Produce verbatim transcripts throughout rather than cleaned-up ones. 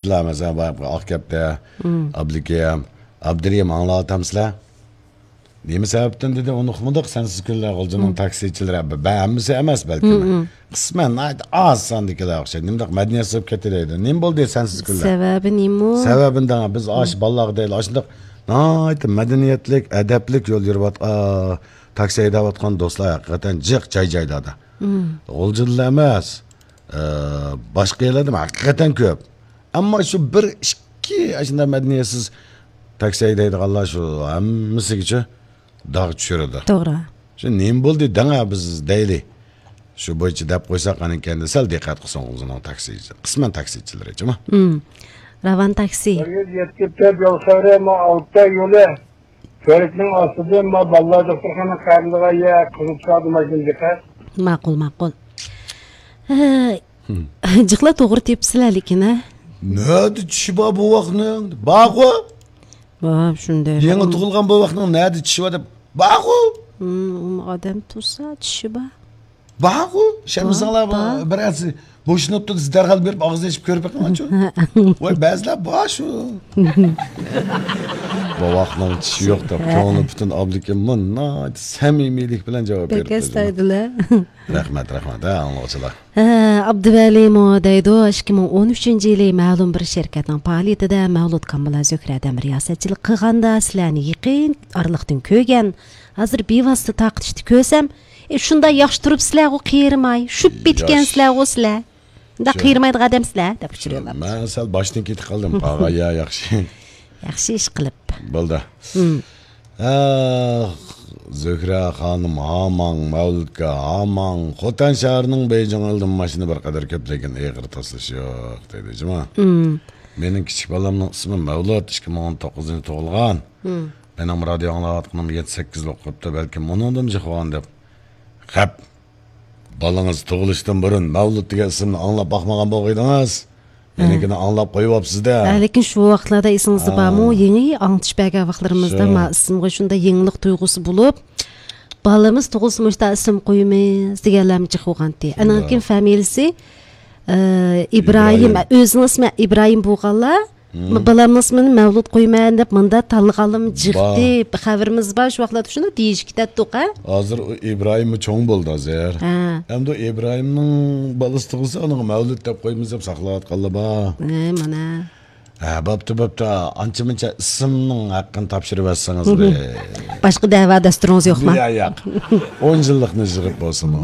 سىلەر مەسىلەن، بايىقى ئاقكەپتە، ئابلىكەم، ئابدۇرېھىم ئاڭلاۋاتامسىلەر؟ نېمە سەۋەبتىن دېدى، ئۇنى ئۇقمىدۇق، سەنسىز كۈنلەر غۇلجىنىڭ تاكسىچىلىرى، بە-، بە-، ھەممىسى ئەمەس بەلكىم. قىسمەن ناھايىتى ئاز ساندىكىلەر ئوخشايدۇ. نېمىنداق مەدەنىيەتسىز بولۇپ كېتىدۇ. نېمە بولدى سەنسىز كۈنلەر؟ سەۋەبى نېمە؟ سەۋەبىنى دەڭە، بىز ئاشۇ بالىلارغا دەيلى، ئاشۇنداق ناھايىتى مەدەنىيەتلىك، ئەدەپلىك يول يۈرۈۋات-، ئا، تاكسى ھەيدەۋاتقان دوستلار ھەقىقەتەن جىق جاي-جايلاردا. غۇلجىدىلا ئەمەس، ئە، باشقا يەرلەردىمۇ ھەقىقەتەن كۆپ. ئەمما شۇ بىر ئىككى ئاشۇنداق مەدەنىيەتسىز تاكسى ھەيدەيدىغانلار شۇ ھەممىسىگىچە داغ چۈشۈرىدۇ. توغرا. شۇ نېمە بولدى دەڭە بىز دەيلى. شۇ بويىچە دەپ قويساق ئانىكەندە سەل دىققەت قىلسۇن ئۆزىنىڭ تاكسى، قىسمەن تاكسىچىلىرىچىمۇ. مم. راۋان تاكسى. بىر يۈز يەتتە يول خەۋىرى، ما ئالتە يولى. كۆۋرۈكنىڭ ئاستىدىن ما بالىلار دوختۇرخانا قەرىلىغان يەر قىزىل چىراغدا ماشىنا چىقار. ماقۇل، ماقۇل. ھە، جىقلا توغرا تېپىپسىلەر لېكىن، ھە؟ نەدە چىشى بار بوۋاقنىڭ؟ بارغۇ. ۋا، شۇنداق. يېڭى تۇغۇلغان بوۋاقنىڭ نەدە چىشى بار دەپ، بارغۇ. ھىم، ئادەم تۇرسا چىشى بار. بارغۇ، ئىشەنمىسەڭلار، بار، بار. بىرەرسى بوشىنىپتۇ دېسە، دەرھال بېرىپ ئاغزىنى ئېچىپ كۆرۈپ بېقىڭلارچۇ. ۋاي، بەزىلەر بار شۇ. بوۋاقنىڭ چىشى يوق دەپ، كۆڭلى پۈتۈن ئابلىكىم ناھايىتى سەمىمىيلىك بىلەن جاۋاب بەك بېرىپتۇ. ئەستايىدىللا. رەھمەت، رەھمەت، ھە، ئاڭلىغۇچىلار. ھە، ئابدۇۋەلىمۇ دەيدۇ، ئىككى مىڭ ئون ئۈچىنچى يىلى مەلۇم بىر شىركەتنىڭ پائالىيىتىدە مەۋلۇت كامبىلا زۆھرەدىن رىياسەتچىلىك قىلغاندا، سىلەرنى يېقىن ئارىلىقتىن كۆرگەن، ھازىر بىۋاسىتە تارقىتىشتا كۆرسەم، ئى، شۇنداق ياخشى تۇرۇپسىلەرغۇ، قېرىماي، شۈپ پېتىكەنسىلەرغۇ سىلەر. مۇنداق قېرىمايدىغان ئادەمسىلەر، دەپ ئۇچۇر يوللاپتۇ. مەن سەل باشتىن كېتىپ قالدىم، قاغا، يا، ياخشى. ياخشى ئىش قىلىپ. بولدى. ھە، زۆھرە خانىم ھاماڭ، مەۋلۇتكە ھاماڭ، خوتەن شەھىرىنىڭ بېيجىڭ ئېلىدىن ماشىنا بىر قەدەر كۆپ، لېكىن ئېغىر توسۇلۇش يوق، دەيدۇ، جۇما. مېنىڭ كىچىك بالامنىڭ ئىسمى مەۋلۇت، ئىككى مىڭ ئون توققۇزىنچى تۇغۇلغان. مېنىڭ رادىيو ئاڭلاۋاتقىنىم يەتتە سەككىز بولۇپ قاپتۇ، بەلكىم ئۇنىڭدىن جىق بولغان دەپ. خەپ. بالىڭىز تۇغۇلۇشتىن بۇرۇن مەۋلۇت دېگەن ئىسىمنى ئاڭلاپ باقمىغان بولغىيدىڭىز. مېنىڭكىنى ئاڭلاپ قويۇۋاپسىز-دە. ھە، لېكىن شۇ ۋاقىتلاردا ئېسىڭىزدە بارمۇ؟ يېڭى ئاڭلىتىش بەرگەن ۋاقىتلىرىمىزدا ما ئىسىمغا شۇنداق يېڭىلىق تۇيغۇسى بولۇپ، بالىمىز تۇغۇلسا مۇشۇنداق ئىسىم قويىمىز دېگەنلەرمۇ جىق بولغانتى. ئانان كېيىن فامىلىسى، ئە، ئىبراھىم، ئۆزىنىڭ ئىسمى ئىبراھىم بولغانلار، بالامنىڭ ئىسمىنى مەۋلۇت قويىمەن دەپ مۇنداق تاللىغانلىرىمۇ جىقتى. خەۋىرىمىز بار، شۇ ۋاقىتلاردا شۇنداق دېيىشىپ كېتەتتۇق، ھە؟ ھازىر ئۇ ئىبراھىممۇ چوڭ بولدى ھازىر. ھە. ئەمدى ئۇ ئىبراھىمنىڭ بالىسى تۇغۇلسا، ئۇنىڭغا مەۋلۇت دەپ قويىمىز دەپ ساقلاۋاتقانلار بار. ھە، مانا. ھە، بوپتۇ، بوپتۇ. ئانچە-مۇنچە ئىسىمنىڭ ھەققىنى تاپشۇرۇۋەتسىڭىز بىر. باشقا دەۋا دەستۇرىڭىز يوقما؟ يا، ياق. ئون يىللىقنى يىغىپ بولسىمۇ.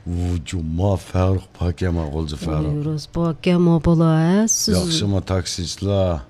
ۋۇ، جۇما، فەرۇق پاكەما، غۇلجا فەرۇق. روز پاكەما بالا، ھە، سىز. ياخشىمۇ تاكسىچىلار؟